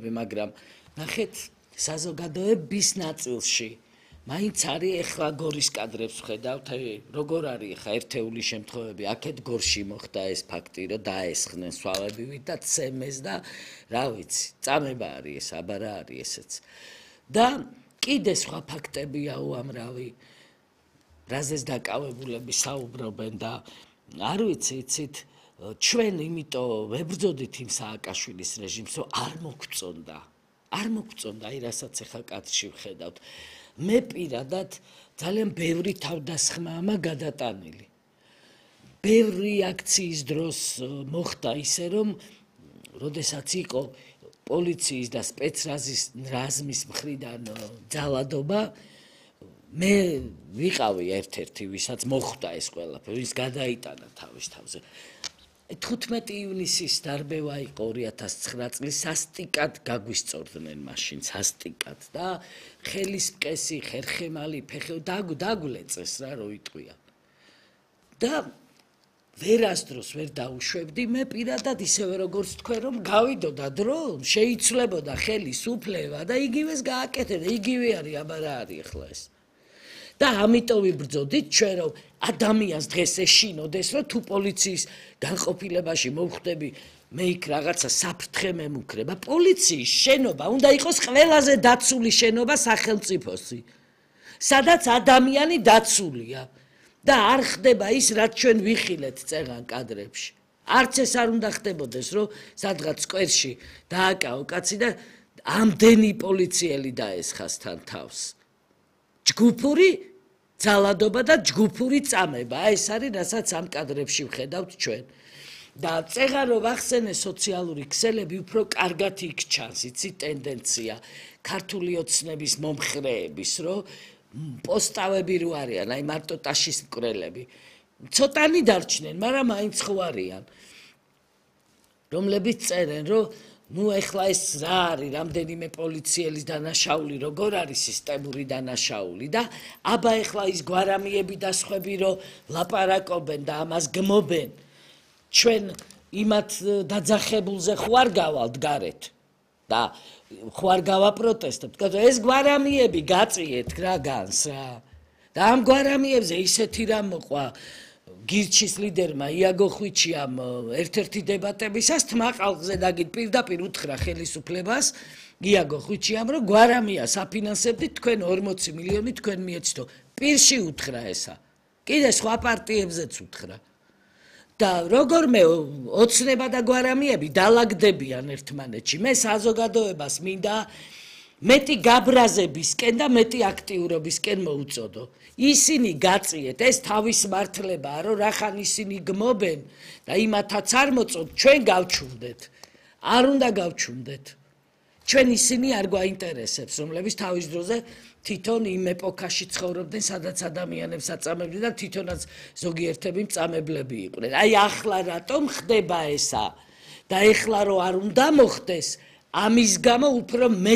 შემთხვევები, მაგრამ ნახეთ საზოგადოების ნაწილში მაინც არის ეხლა გორის კადრებს ვხედავთ, როგორ არის ეხლა ერთეული შემთხვევები, აქეთ გორში მოხდა ეს ფაქტი, რომ დაესხნენ სვავებივით და ცემეს და რა ვიცი, წამება არის ეს, აბარა არის ესეც. და კიდე სხვა ფაქტებია უამრავი, რაზეც დაკავებულები საუბრობენ და არ ვიცი, იცით, ჩვენ იმიტომ ვებრძოდით იმ სააკაშვილის რეჟიმს, რომ არ მოგწონდა, აი რასაც ეხლა კადრში ვხედავთ. მე პირადად ძალიან ბევრი თავდასხმაა გადატანილი. ბევრი აქციის დროს მოხდა ისე, რომ როდესაც იყო პოლიციის და სპეცრაზმის მხრიდან ძალადობა, მე ვიყავი ერთ-ერთი, ვისაც მოხვდა ეს ყველაფერი, ვის გადაიტანა თავის თავზე. 15 ივნისის დარბევა იყო 2009 წლის, სასტიკად გაგვისწორდნენ მაშინ, სასტიკად და ხელის მყესი, ხერხემალი, დაგულეწეს რა, რო იტყვიან. და ვერასდროს ვერ დაუშვებდი, მე პირადად ისევე როგორც თქვენ, რომ გავიდოდა დრო, შეიცვლებოდა ხელის უფლება და იგივეს გააკეთებდა, იგივე არის, აბარა არის ახლა ეს. და ამიტომ ვიბრძოდით ჩვენ, რომ ადამიანს დღეს ეშინოდეს, რომ თუ პოლიციის განყოფილებაში მოვხვდები, მე იქ რაღაცა საფრთხე მემუქრება. პოლიციის შენობა უნდა იყოს ყველაზე დაცული შენობა სახელმწიფოსი, სადაც ადამიანი დაცულია და არ ხდება ის, რაც ჩვენ ვიხილეთ წეღან კადრებში. არც ეს არ უნდა ხდებოდეს, რომ სადღაც სკვერში დააკავო კაცი და ამდენი პოლიციელი დაესხას თან თავს. ჯგუფური ძალადობა და ჯგუფური წამება, ეს არის, რასაც ამ კადრებში ვხედავთ ჩვენ. და წეღან რომ ვახსენე სოციალური ქსელები, უფრო კარგად იქ ჩანს, იცი ტენდენცია ქართული ოცნების მომხრეების, რომ პოსტავები რო არიან, აი მარტო ტაშის მკვლელები. ცოტანი დარჩნენ, მაგრამ მაინც ხო არიან. რომლებიც წერენ, რომ ნუ ეხლა ეს რა არის, რამდენიმე პოლიციელის დანაშაული, როგორ არის სისტემური დანაშაული და აბა ეხლა ის გვარამიები და სხვები, რომ ლაპარაკობენ და ამას გმობენ, ჩვენ იმათ დაძახებულზე ხო არ გავალთ გარეთ და ხო არ გავაპროტესტებთ, ეს გვარამიები გაწიეთ რა განს რა. და ამ გვარამიებზე ისეთი რამ მოყვა გირჩის ლიდერმა იაგო ხვიჩიამ ერთ-ერთი დებატებისას თმაყალზე დაგით პირდაპირ უთხრა ხელისუფლებას იაგო ხვიჩიამ, რომ გვარამიას აფინანსებდით თქვენ 40 მილიონი თქვენ მიეცდო. პირში უთხრა ესა. კიდე სხვა პარტიებზეც უთხრა. და როგორმე ოცნება და გვარამიები დალაგდებიან ერთმანეთში. მე საზოგადოებას მინდა მეტი გაბრაზებისკენ და მეტი აქტიურობისკენ მოუწოდო. ისინი გაწიეთ, ეს თავის მართლებაა, რომ რახან ისინი გმობენ და იმათაც არ მოწოთ, ჩვენ გავჩუნდეთ. არ უნდა გავჩუნდეთ. ჩვენ ისინი არ გვაინტერესებს, რომლებიც თავის დროზე თვითონ იმ ეპოქაში ცხოვრობდნენ, სადაც ადამიანებს აწამებდნენ და თვითონაც ზოგიერთები მწამებლები იყვნენ. აი ახლა რატომ ხდება ესა? და ეხლა რომ არ უნდა მოხდეს, ამის გამო უფრო